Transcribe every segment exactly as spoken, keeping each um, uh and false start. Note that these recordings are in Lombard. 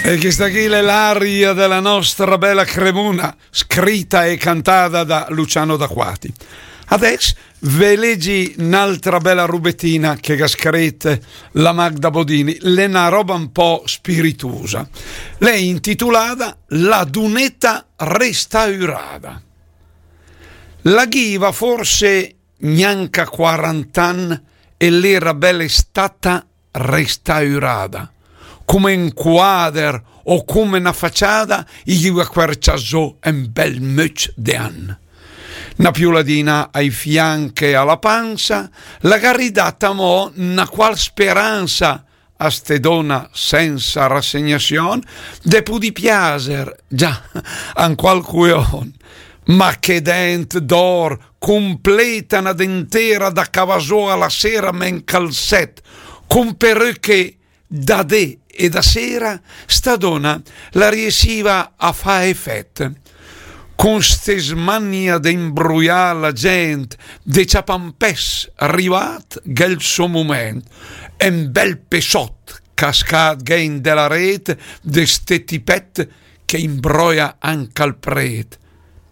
E chesta chì l'è l'aria de la nostra bèla Cremona, scrita e cantada da Luciano D'Acquati. Adès ve legi n'altra bèla rubetina che gh'à scrit la Magda Bodini, l'è na roba un po' spiritusa. L'è intitulada La duneta restaurada. La ghiva forse gnanca quarant'ann e l'era bèla stata restaurada, cume un quader o cume na faciada, i ghiva quercià zó un bèl möcc de ann. Na piuladina ai fianch e a la pansa, la gh'à ridat amò na qual speransa a ste dona sensa rassegnazion de pudì piaser, già, a un qualcun. Ma che dent d'or, cumpleta na dentera da cavà zó a la sera, me 'n calzet, cun peröche da dé e da sera, sta dona la riessiva a fà efet. Cun ste smania de imbruià la gent, de ciapà un pes, rivat gh'è 'l so mument, un bel pesot cascat gh'è in de la ret de ste tipet che imbroia anca 'l pret.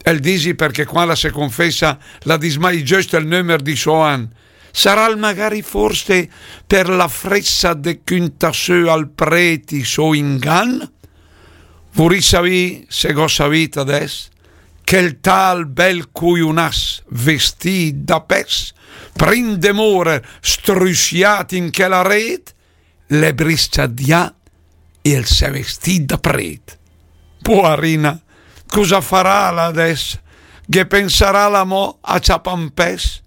El disi perché quand la se confessa la dis mai giöst el nömer di so an. Saràl magari forse per la fressa de cüntà sö al pret i so ingan? Vurì savì se gh'ó savit adès che 'l tal bel cuiunas vestìt da pes, prim de morer strussiat in chela ret, l'è brisciadià e 'l s'è vestìt da pret. Poarina, cusa faràl adès? Ghe pensaràl amò a ciapà un pes?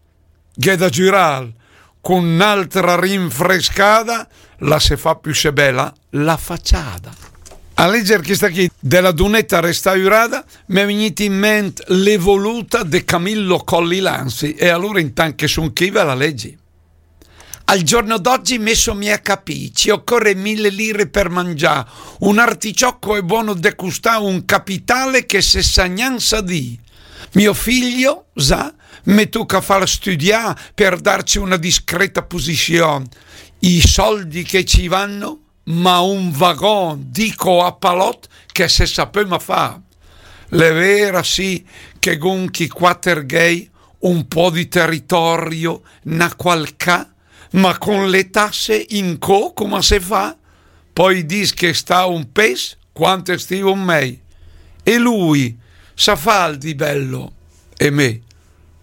Gh'è da giuràl, cun n'altra rinfrescada la se fa püssé bela la faciada. A leger chesta chì de la duneta restaurada m'è vignit in ment l'evoluta de Camillo Colli Lanzi, e alura intant che sun chì ve la legi. Al giorno d'oggi me so mia capì, ci occorre mille lire per mangià, un articiocco è buono de custà un capitale che se sa gnanca dì. Mio figlio, sa, me tocca far studià per darci una discreta posizione. I soldi che ci vanno, ma un vagon, dico a palot, che se sapöma fà. L'è vera, sì, che gh'un chi quater gh'ei un po' di territorio, na qual ca, ma con le tasse in co come se fa? Poi dis che sta un pes quante stivon mei. E lui, sa fal di bello? E me?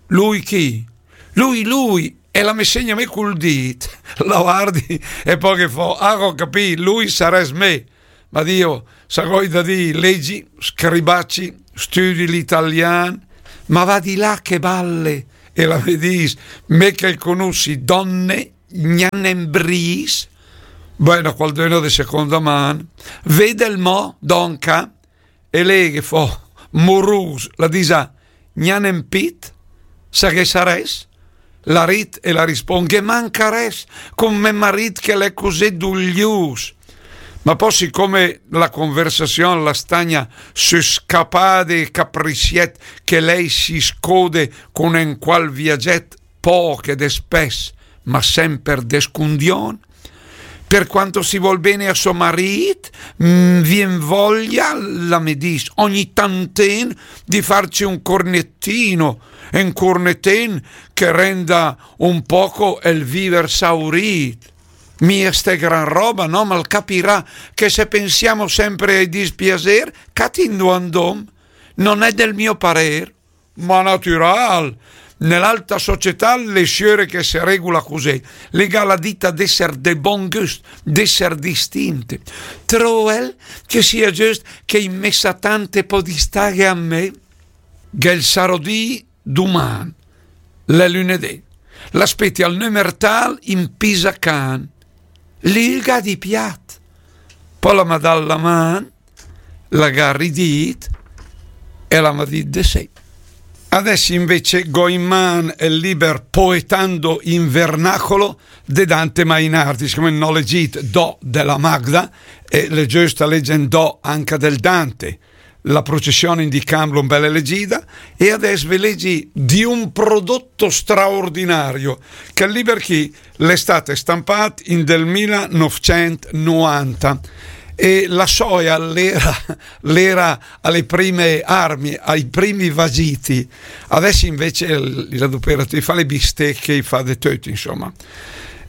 Lui chi? Lui, lui, e la me segna me cul dit. La vardi e poi che fo, ah, ho capì, lui sarès me. Ma Dio, sa gh'oi da dì, legi, scribaci, studi l'italian, ma va di là che balle, e la me dis, me che conussi donne, gnanembrìs, bueno, qualdöna de seconda man, vedel mo, donca, e lei che fo, morus, la disa, gnanem pit, sa che sarès? La rit e la rispon, ghe mancarès, con me marit che l'è cusì duglius. Ma pò, sicome la conversazion la stagna sü scapade e caprissiet che lei si scode con en qual viaget, poche de spes, ma semper de scundion, per quanto si vol bene a so marit, mm, vien voglia, la me dis, ogni tanten di farci un cornettino, un cornetten che renda un poco el viver saurit. Mia ste gran roba, no? Ma 'l capirà che se pensiamo sempre ai dispiacer, catindo andom, non è del mio parer. Ma natural! Nell'alta società le siöre che se regula cusì, le ga la dita d'esser de bon gust, d'esser distinte. Troel che sia giöst che in messa tante pò distaghe a me? Ghe 'l sarò dì duman, l'è lünedé. L'aspetti al nömer tal in Pisacan. Lü 'l ga dì piat. Pò la m'à dà la man, la ga ridit e la m'à dit de sé. Adess invece gh'ò in man el liber Poetando in Vernacolo de Dante Mainardi, sicome n'ò legit do de la Magda, e l'è giöst a legge do anca del Dante. La procession in di Camblon bella legida, e adess ve legi di un prodotto straordinario, che el liber chi l'è stat stampat in del mila novcent novanta, E la soia l'era, l'era alle prime armi, ai primi vagiti. Adesso invece l-, la doperati fa le bistecche, i fa de tutto, insomma.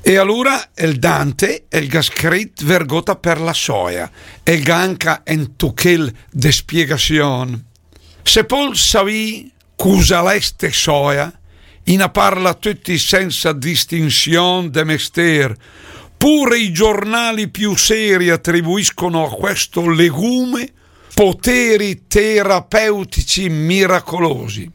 E allora el Dante, el ga scrit vergota per la soia, el ga anca en tuchel de spiegazion. Se pol savì cusa l'è ste soia, i na parla tutti senza distinzion de mester, pure i giornali più seri attribuiscono a questo legume poteri terapeutici miracolosi.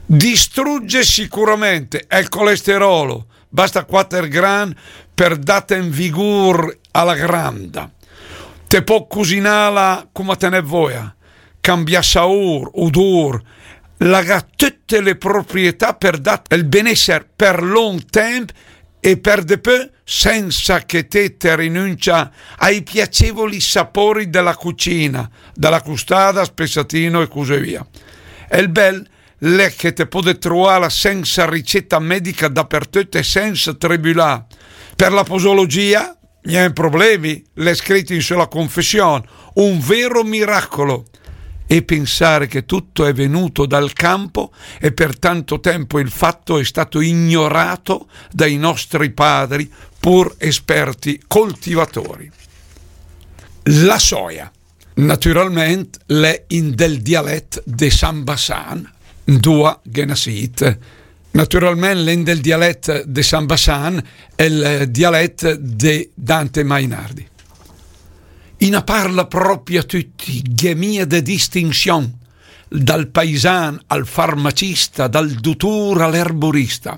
Distrugge sicuramente el colesterolo, basta quatter gran per date un vigor alla granda. Te pò cusinala come te ne voia, cambià saor, odor, la ga tutte le proprietà per dat el benesser per long temp e per de più senza che te te rinuncia ai piacevoli sapori della cucina, della custada, spessatino e così via. El bel l'è che te pode trovarla senza ricetta medica dappertutto e senza tribulà. Per la posologia, gnente problemi, l'è scritto in sulla confessione, un vero miracolo. E pensare che tutto è venuto dal campo e per tanto tempo il fatto è stato ignorato dai nostri padri, pur esperti coltivatori. La soia. Naturalment l'è in del dialet de San Bassan, dua ghe nassit. Naturalment l'è in del dialet de San Bassan, el dialet de Dante Mainardi. I na parla propria tutti, gh'è mia de distinzion, dal paisan al farmacista, dal dutur all'erborista.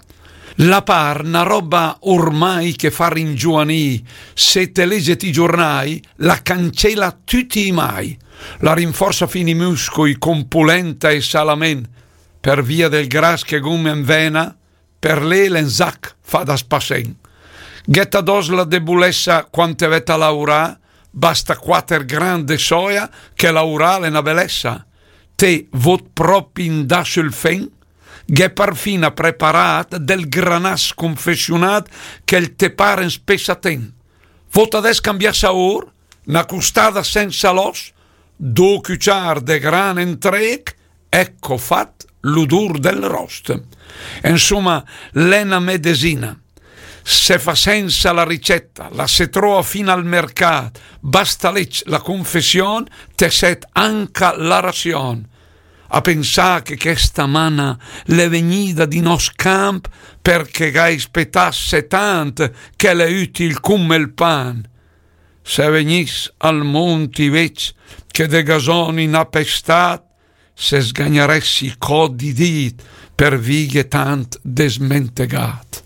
La par na roba ormai che fa ringiovanì, se te leget i giornai, la cancella tutti i mai, la rinforza fin i muscoi con polenta e salamen, per via del gras che gh'om en vena, per lé l'è en zac fa da spassen. Gh'è adòs la debolessa quand te vet a laurà, basta quatter gran de soia che laurà l'è na belessa. Te vot propi indà sul fen, gh'è parfina preparat del granas confessionat che el te par en spessaten. Vot adès cambià saor, na custada senza l'os, do cuciar de gran entrec, ecco fat l'odor del rost. Insomma, l'è na medesina. Se fa senza la ricetta, la se trova fin al mercat, basta legg la confession, te set anca la razion. A pensà che chesta mana l'è vegnida di nos camp perché gh'ai spetà setant che l'è util come il pan. Se vegniss al mont i vec che de gasoni n'ha pestat, se sgagnaressi i cod i dit per vighe tant desmentegat.